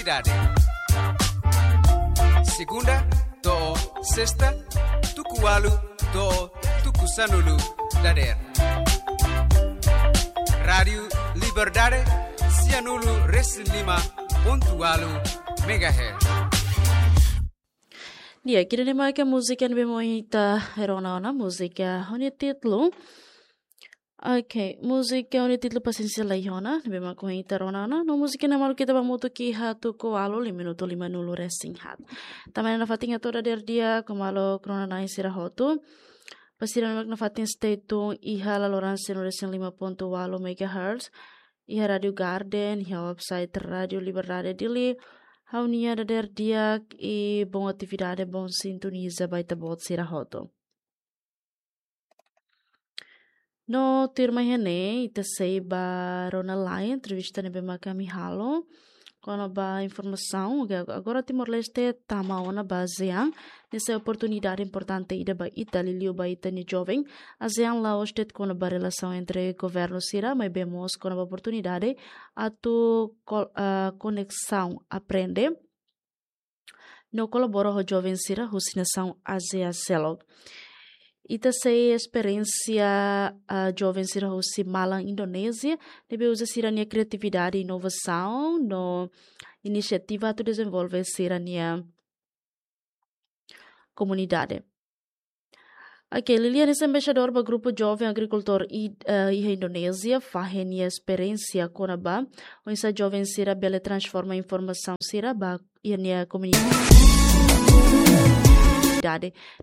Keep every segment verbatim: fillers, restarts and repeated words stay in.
Dade. Segunda to'o sesta, tuku ualu to'o tuku sanulu dadeer. Rádiu Liberdade, sianulu resin lima pontu ualu megahertz. Di'ak, ida-ne'e mak múzika ne'ebé mak ita rona ona, múzika ho nia títulu. Ok, múzika ho nia títulu Pasiénsia Laiha Ona, ne'ebé mak ita rona ona. No múzika ne'e mak ita ba hamutuk iha tuku ualu, lima minutu lima nulu resin haat. Tanba ne'e nafatin hato'o dadeer di'ak ho maluk rona-na'in sira hotu. Ba sira ne'ebé mak nafatin stay tune iha laloran sianulu resin lima pontu ualu megahertz. Iha Rádiu Garden, iha website Rádiu Liberdade Dili. Ha'u-nia dadeer di'ak i bom atividade, bom sintoniza ba ita-boot sira hotu. No tuirmai iha ne'e, ita sei ba rona lai entrevista ne'ebé mak ami halo kona-ba informasaun, oke, agora Timor-Leste tama ona ba ASEAN, ne'e sai oportunidade importante ida ba ita, liuliu ba ita-nia joven. ASEAN la'ós de'it kona-ba relasaun entre governu sira, maibé mós kona-ba oportunidade atu kol-, ah, koneksaun, aprende no kolabora ho joven sira husi nasaun ASEAN seluk. Ita sei esperiénsia, ah, joven sira husi malan Indonézia, ne'ebé uza sira-nia kriatividade, inovasaun no inisiativa atu dezenvolve sira-nia komunidade. Ok, Lili hanesan embaixadór ba grupu joven agrikultór i, eh, iha Indonézia, fahe nia esperiénsia kona-ba oinsá joven sira bele transforma informasaun sira ba iha nia komunidade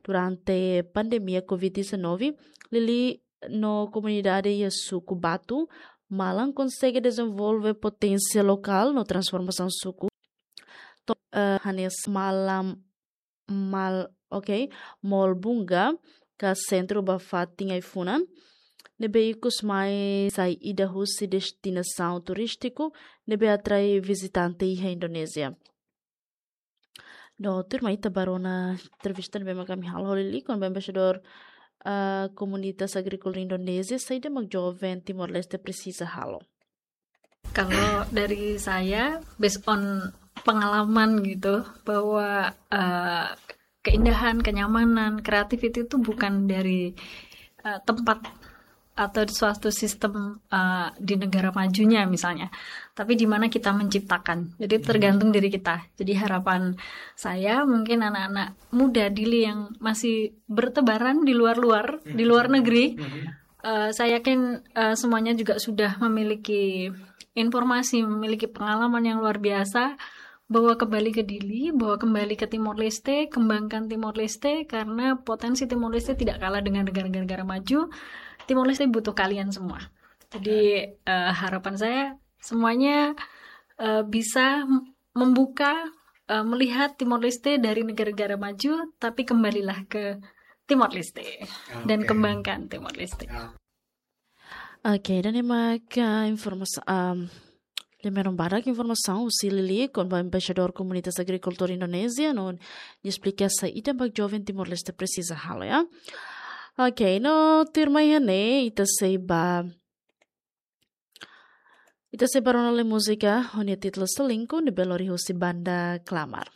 durante pandemia covid dezanove. Lili no komunidade iha suku Batu, malan konsege dezenvolve poténsia lokál no transformasaun suku. To, eh, hanesan malan mal, ok, Mall Bunga, ka sentru ba fatin ai-funan, ne'ebé ikus mai sai ida husi destinasaun turístiku ne'ebé atrai vizitante iha Indonézia. No tuirmai ita ba rona entrevista ne'ebé mak ami halo ho Lili kona-ba embaixadór, ah, komunitas agríkola Indonézia, saida mak joven Timor-Leste presiza halo. Kalau dari saya, based on pengalaman gitu, bahwa, eh, keindahan, kenyamanan, creativity itu bukan dari, eh, tempat atau di suatu sistem, eh, di negara majunya misalnya, tapi di mana kita menciptakan. Jadi tergantung diri kita. Jadi harapan saya mungkin anak-anak muda Dili yang masih bertebaran di luar-luar, di luar negeri, eh, saya yakin, eh, semuanya juga sudah memiliki informasi, memiliki pengalaman yang luar biasa, bahwa kembali ke Dili, bahwa kembali ke Timor Leste, kembangkan Timor Leste, karena potensi Timor Leste tidak kalah dengan negara-negara maju. Timor Leste butuh kalian semua. Jadi, eh, harapan saya semuanya, eh, bisa membuka, eh, melihat Timor Leste dari negara-negara maju, tapi kembalilah ke Timor Leste dan kembangkan Timor Leste. Ok, ida-ne'e mak informasaun, um, lembra barak informasaun husi Lili kona-ba embaixadór komunitas agrikultór Indonézia, no nia esplika saida mak joven Timor-Leste presiza halo, ya. Ok, no tuirmai iha ne'e, ita sei ba, ita sei ba rona lai múzika ho nia títulu Selingkuh, ne'ebé lori husi banda Klamar.